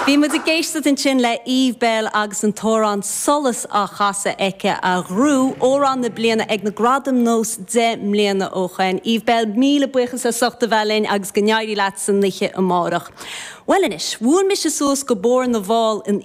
Bhí muid ag éisteacht ansin le Eve Belle agus an t-amhrán 'Solas' á chasadh aici a ghnóthaigh Amhrán na Bliana ag na Gradaim Nós 10 mbliana ó shoin. Eve Belle, míle buíochas as ucht a bheith linn agus go n-éirí leat san oíche amárach. Bhuel anois, bhuail mise suas go Bóthar na bhFál in.